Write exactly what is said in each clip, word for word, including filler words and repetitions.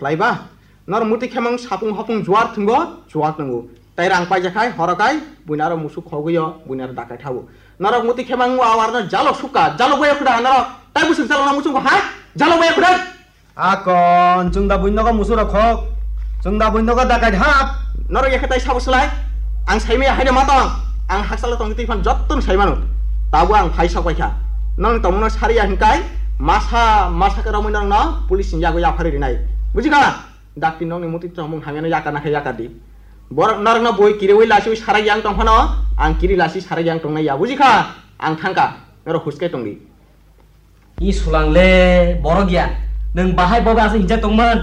Khlaiba? Norok muti khemang sapung hopung juar thwngo, chuak nwngo. Tai rang paijak khai, horo khai, buini aro musuk khogwi o, buini aro dakai thabu. Norok muti khemang o awar no jalo sukha, jalo boya khuda norok. Tai busuk jalo na musuk ha? Jalo boya khuda. Akon, chwng da buini nogo musuk rok khok. Chwng da buini nogo dakai hap. Norok yakhe tai sabo slai. Ang saimaya haino matong. Ang haksalo tongwi twi phan jottoni saimano. Tabo ang phai sok paikha. Nong tongmano sariya hinkai masa masa khe romwi nongno police ni yago yaphari rinai. Bujikha? Dakti nongni muti tongmung hamyano yakar nakhe yakar di. Borok norokno boi kiriwi lasiwi sarai yang tongphano ang kiri lasi sarai yang tongnai ya. Bujikha? Ang thangkha. Norok huskai tongdi. I sulang le, borok ya. Nwng bahai bobo aswk hinjak tongmani?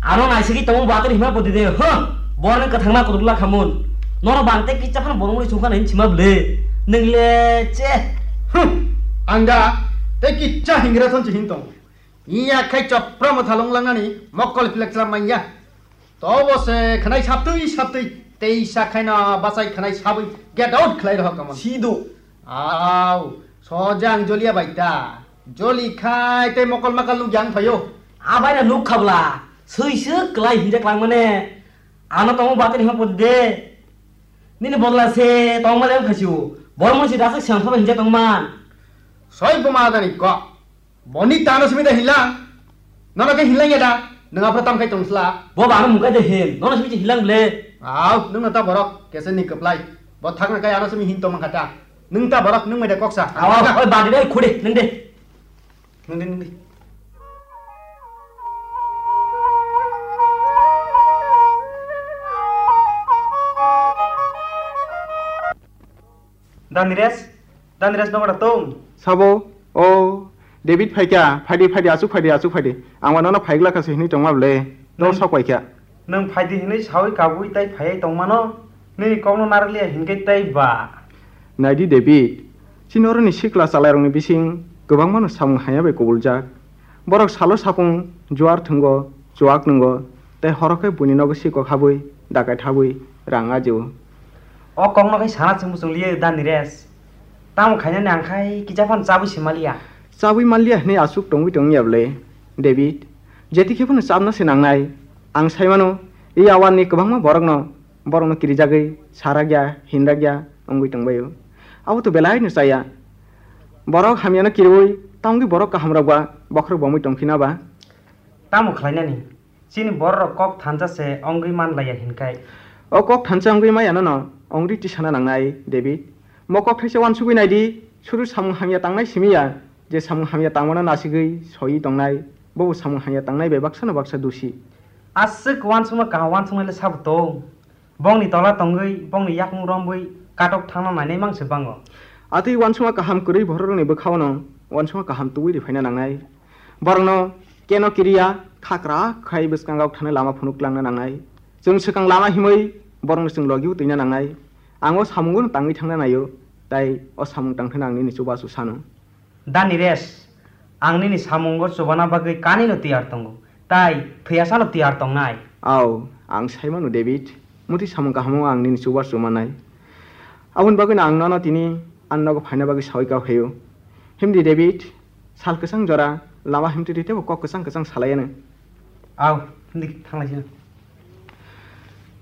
Ano naisigwi tongmung bo atwrwi hima podi de, huh? Borok nwng kwthangma kutukla khamun. Norok bang tei kisa phano borok muli chukha nai hinchima bwle. Nwng le, che. Huh. Ang da tei kisa hingra thon se hin tong. Iya khai chopra motha long langnani mokkol pilak chlam manya. Tobo se khwnai saptwi saptwi tei sa khaina bachai khwnai sabwi get out khlai rohor kamon. Sido. Au, soja ang joliya bai ta. Joli khai tei mokol makal nuk yang phaio. Abai na nuk khabla. Sui se klai hinjak lang mane. Ano tongmo batani hapon de. Nini bodla se tongma le khasiu. Bor mun si dasak siang phaba hinjak tongman. Soi buma dani kok. Boni tano simi da hilang. Nono ke hilang ya da. Nang apa tam kai tong sla. Bo ba mung kai de hin. Nono simi hilang ble. Au, nung na ta borok. Kese ni keplai. Bo thak na kai ano simi hin to mang kata. Nung ta borok, nung mai da koksa. Awa, oi ba de khudi, nung de. Nung de, nung de. Danires, Danires nogo da tong? Sabo, o, David phaikha, phaidi, phaidi, asuk phaidi, asuk phaidi. Ang wano no phaigla kasi hini tongma ble. Dor sok paikha. Nwng phaidi hini sawi kabui tai phaiwi tongmano, nini kokno narwkliya hinkhe tai ba. Naidi David, chini oroni sikla chalairokni bising kwbangmano samung haya bai kubuljak. Borok salo sapung juar thwngo, chuak nwngo, tei horo khe buini nogo sikok habwi, dakai thabwi, rang ajio. O kokno khai sana chwng muchung liya da Nires. Tamo khainani ang khai kisa phano chabwi se maliya. Chabwi manliya hwnwi aswk tongwi tongya ble, David? Jeti khe phano chabna se nangnai. Ang sai mano, i awarni kwbangma borokno, borokno kirijagwi sarakya, hinrakya wngwi tongbaio. Abo to belaino chaya. Borok hamyano kiriwi, tamogwi borok kahamrok ba bokhorok bomwi tongphina ba? Tamo khlainani? Chini bororok kok thansa se wngwi man laiya hinkhai. O kok thansa wngwi maya nono wngwi tisana nangnai, David. Mo kok thaisa uansugwi naidi, sudu samung hamya tangnai simi ya, je samung hamya tangmano nasigwi soiwi tongnai, bobo samung hamya tangnai bai baksano baksa dusi. Aswk uansukma kaham uansuknai le sabo tong? Bongni tola tongwi, bongni yakung romwi katok thangna nainai mang se bango. Atwi uansukma kaham kwrwi bororokni bwkhao'-no uansukma kaham tubui riphaina nangnai. Borokno keno kiriya, khakra khai bwskango thani lama phunuk langna nangnai. Chwng swkang lama himwi borokno chwng logi-o twina nangnai. Ang o samungo'-no tangwi thangna naio, tai o samung tangthana ang nini chubachu sano. Da Nires, ang nini samungo chubana bagwi kanino tiyar tongo, tai thwiyasano tiyar tongnai. Au, ang sai mano, David, muti samung kahamo ang nini chubar chumanai. Aboni bagwino ang nono tini ani nogo phaina bagwi saui kha phaio. Himdi, David, sal kwchang jora lama himtwi twi teibo kok kwchang kwchang salaiano. Au, himdi thanglaisino.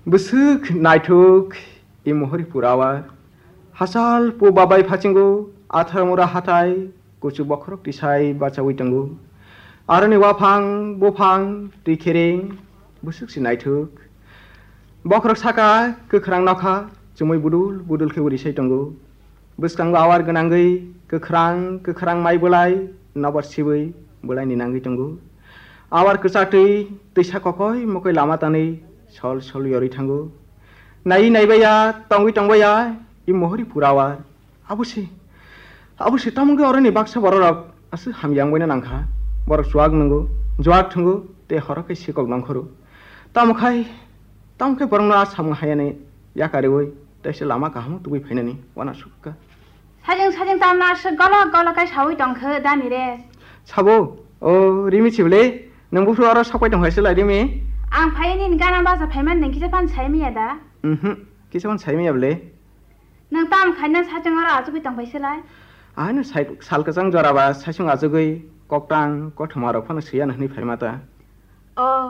Bwswk naithok i mohori purawa. Hachal pu babai phasingo, athar mura hathai, kuchuk bokhorok tisai bachaui tongo. Aroni waphang, buphang, twi khereng, bwswk se naithok. Bokhorok saka, kwkhrang nokha, chumui budul budul khe uri sai tongo. Bwskango awar gwnangwi, kwkhrang kwkhrang mai bwlai, nobar sibwi bwlaini nangwi tongo. Awar kwchatwi, twisa kokoi mokoi lama tanwi sol sol yorwi thango. Naiwi naibaiya, tongwi tongbaiya, i mohori purawa. Abo se, abo se, tamo wngkhe oroni baksa bororok aswk hamya wngbaina nangkha. Borok chuak nwngo, juak thwngo, tei horo khe sikok nongkhoro. Tamo khai, tamo khe borokno a samung hayani yakariwi, tei se lama kahamo tubui phainani uanasuk kha. Sajeng sajeng tamno aswk golok golok khe saui tongkhe da Nires? Sabo, o Rimi chibwle, nwng buphuru oro sokpai tongkha se lai Rimi? Ang phai nini gana bacha phaimani nwng kisa phano saimanya da? Mhm, kisa phano saimanya bwle. Nwng tamo khaina sachwng oro achugwi tongphai se lai? Ano sai-, sal kwchang jora ba saichung achugwi koktang kothoma rok phano swiya hwnwi phaima ta. O.